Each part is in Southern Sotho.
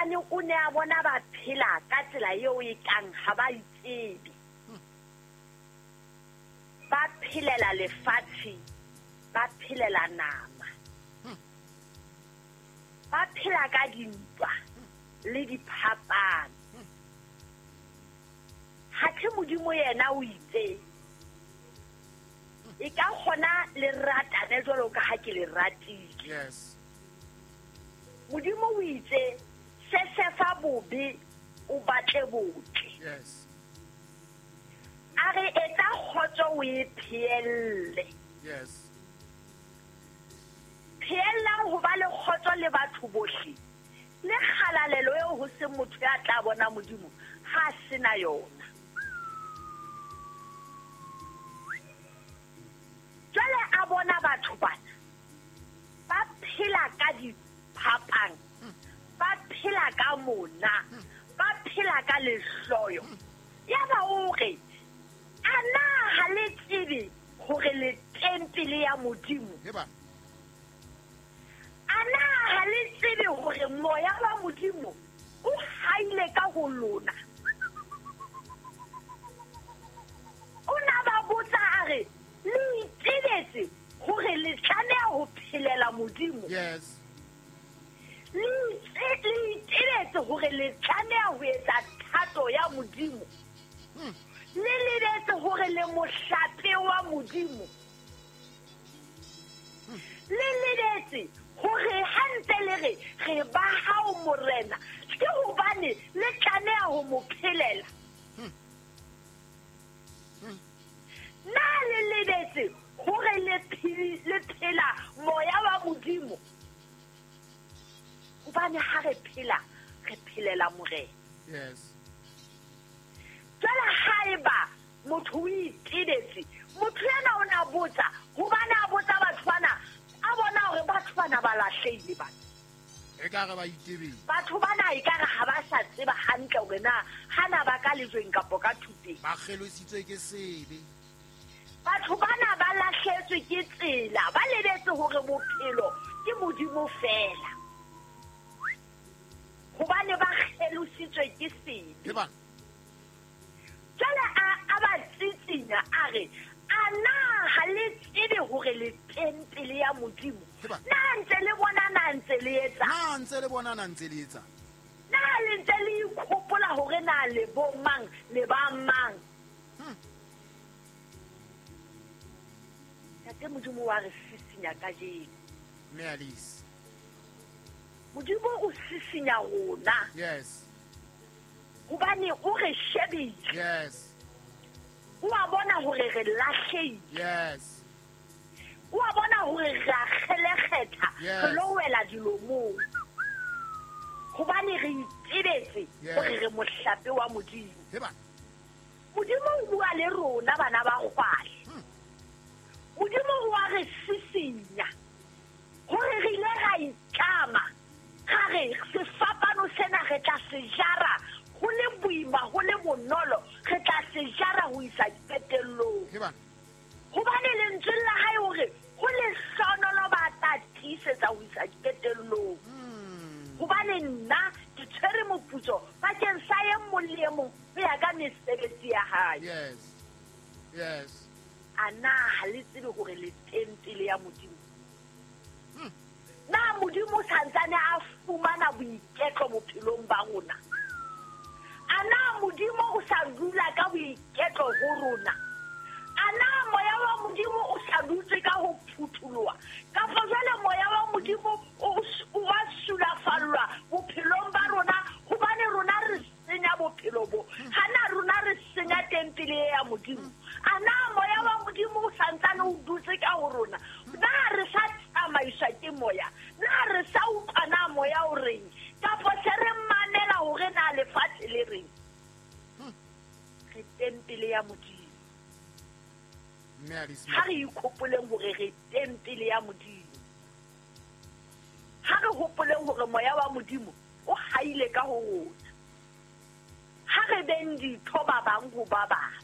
Hobane o ne a bona ba phela ka tsela eo e kang ha ba itsebe. Ba phelela lefatshe, ba phelela nama. Ba phela ka dintwa le diphapano. Hathe Modimo yena o itse, e ka kgona le ratane jwalo ka ha ke le ratile. Yes. Modimo o itse, sesefa bobe o batle botle. Yes. A re etsa kgotso o e pheelle. Yes. Pheellang ho ba le kgotso le batho bohle. Le kgalalelo eo ho se motho ya tla bona Modimo ha a sena yona. Jwale a bona batho bana ba phela ka diphapang, ba phela ka mona, ba phela ka lehloyo. Yaba o re, a na ha le tsebe hore le tempele ya Modimo? Heba. A na ha le tsebe hore moya wa Modimo o haile ka ho lona? O na ba botsa a re, le itebetse hore le tlameha ho phelela Modimo? Yes. Le itebetse hore le tlameha ho etsa thato ya Modimo? Le lebetse hore le mohlape wa Modimo? Le lebetse hore ha ntse le re re ba hao Morena, ke hobane le tlameha ho mo phelela? Na le lebetse hore le phela moya wa Modimo? Hobane ha re phela, re phelela Morena. Yes. Jwale haeba motho o itebetse, motho yena o na botsa, hobane a botsa batho bana, a bona hore batho bana ba lahlehile bana. Ekare ba itebetse. Batho bana ekare ha ba sa tseba hantle hore na hana ba ka lejweng kapo ka thupeng. Ba kgelositswe ke sebe. Batho bana ba lahletswe ke tsela, ba lebetse hore bophelo ke Modimo fela. Hobane ba kgelositswe ke sebe. Heba. Jwale a ba tsitsinya a re, a na ha le tsebe hore le tempele ya Modimo? Heba. Na ntse le bona, na ntse le etsa? Na ntse le bona, na ntse le etsa? Na le ntse le ikgopola hore na le bo mang, le ba mang? Ntate Modimo wa re sisinya kajeno. Mme Alice. Modimo o sisinya rona. Yes. Hobane o re shebile. Yes. O a bona hore re lahlehile. Yes. O a bona hore re a kgelekgetha. Yes. Re lo wela dilomong. Hobane re itebetse Yes. hore re mohlape wa Modimo. Heba. Modimo o bua le rona bana ba kgwale. Modimo o a re sisinya hore re ile ra itlama, ra re sefapano sena re tla se jara ho le boima, ho le bonolo, re tla se jara ho isa qetellong. Heba. Hobane lentswe la hae hore ho lehlohonolo ba tla tiisetsa ho isa qetellong. Hobane nna ke tshwere moputso bakeng sa e mong le e mong ho ya ka mesebetsi ya hae. Yes. Yes. A na ha le tsebe hore le tempele ya Modimo? Na Modimo o santsane a fumana boiketlo bophelong ba rona? A na Modimo o sa dula ka boiketlo ho rona? A na moya wa Modimo o sa dutse ka ho phutholoha? Kapa jwale moya wa Modimo o wa sulafallwa bophelong ba rona, hobane rona re senya bophelo bo. Ha na rona re senya tempele e ya Modimo? A na moya wa Modimo o santsane o dutse ka ho rona? Na re sa tsamaiswa ke moya? Na re sa utlwa na moya o reng? Kapa se re mamela hore na lefatshe le reng? Re tempele ya Modimo. Mme Alice Ha re ikgopoleng hore re tempele ya Modimo. Ha re hopoleng hore moya wa Modimo o haile ka ho rona. Ha re beng ditho ba bang ho ba bang.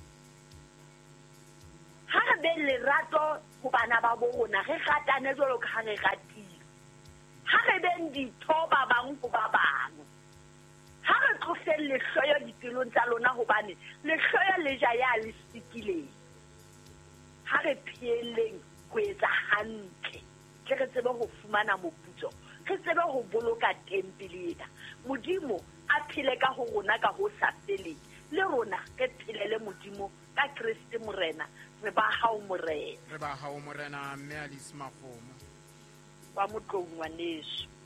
Ha re beng lerato ho bana ba bo rona, re ratane jwalo ka ha re ratile. Ha re beng ditho ba bang ho ba bang. lehloyo dipelong tsa lona, hobane lehloyo le ja ya le sikileng. Ha re pheelleng ho etsa hantle, tle re tsebe ho fumana moputso, re tsebe ho boloka tempele ena. Modimo a phele ka ho rona ka ho sa feleng, le rona re phelele Modimo ka Kreste Morena. Re ba hao Morena. Re ba hao Morena. Mme Alice Makgomo. Wa Motlou ngwaneso.